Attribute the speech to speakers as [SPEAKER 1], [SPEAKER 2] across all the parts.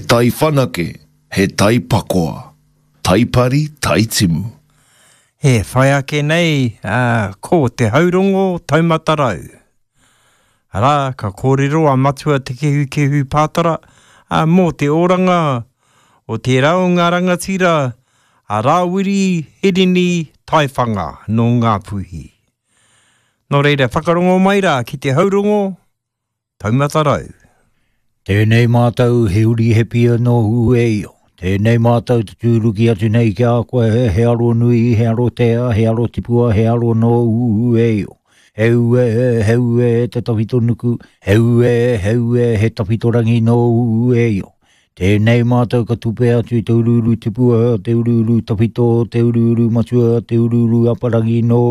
[SPEAKER 1] tai whanake, he tai pakoa. Tai pari, tai timu.
[SPEAKER 2] E whai ake nei ko Te Haurongo Taumata Rau. Arā, ka kōrero a Matua Te Kehukehu Pātara mō te oranga o tērā o ngā rangatira a Rāwiri Hirini Taiwhanga nō Ngāpuhi. Nō reira, whakarongo mai rā ki Te Haurongo Taumata Rau.
[SPEAKER 3] Tēnei mātou he uri he pia nō Ueio. Tēnei mātou te tūruki atu nei ki a koe he aro nui, he aro tea, he aro tipua, he aro nō Ueio. He ue, he ue te tawhito nuku, he ue, he ue he tawhito rangi nō Ueio. Tēnei mātou ka tupe atu i te uruuru tipua, te uruuru tawhito, te uruuru matua, te uruuru aparangi nō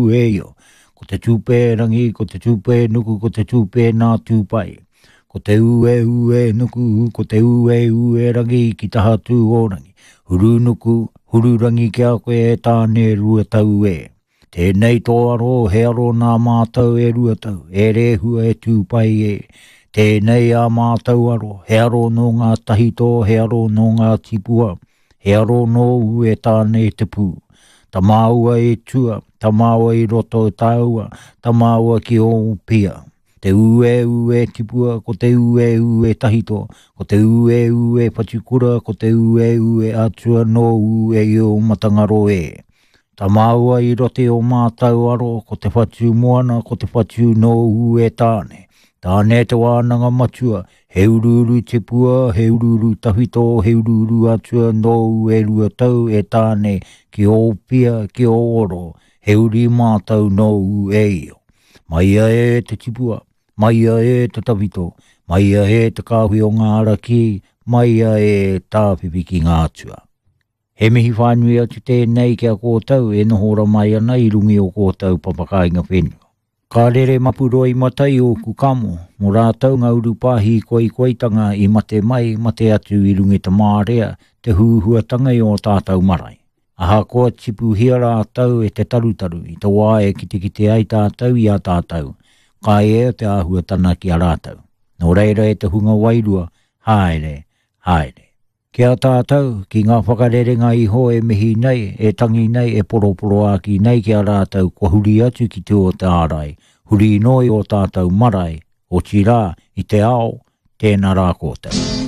[SPEAKER 3] Ueio. Ko te tūpē rangi, ko te tūpē nuku, ko te tūpē nā Tūpai. Ko te ue ue nuku, ko te ue ue rangi ki taha tū o rangi. Huru nuku, huru rangi ki a koe e Tāne Ruatau e. Tēnei tō aro, he aro nā mātou e Ruatau, e Rehua, e Tūpai e. Tēnei ā mātou aro, he aro nō ngā tahito, he aro nō ngā tipua, he aro nōu e Tāne te pū. Tamāua e tua, tamāua i roto tāua, tamāua ki ō pia. Te ue ue tipua, ko te ue ue tahito, ko te ue ue whatukura, ko te ue ue atua nōu e Io Matangaro e. Ta māua i roto i o mātau aro, ko te whatu moana, ko te whatu nōu e Tāne. Tāne te wānanga matua, he uruuru tipua, he uruuru tawhito, he uruuru atua nōu e Ruatau e Tāne ki ō pia, ki ō oro, he uri mātau nōu e Io. Maia e te tipua, maia e te tawhito, maia e te kāhui o ngā ara kī, maia e tāwhiwhi ki ngā atua. He mihi whānui atu tēnei ki a kōtou e noho ora mai ana i runga i o kōtou papakāinga whenua. Ka rere mapu roimata i ōku kamo, mō rātou ngā urupā hīkoikoitanga i mate mai, mate atu i runga i te mārea, te huhuatanga i ō tātou marae. Ahakoa tipuhia rātou e te tarutaru i te wā e kitekite ai tātou i a tātou, ka ea te āhuatana ki a rātou. Nō reira e te hunga wairua, haere, haere. Ki a tātou, ki ngā whakarerenga iho e mihi nei, e tangi nei, e poroporoākī nei ki a rātou kua huri atu ki tua o te ārai, huri noa i ō tātou marae, otirā, i te ao, tēnā rā koutou.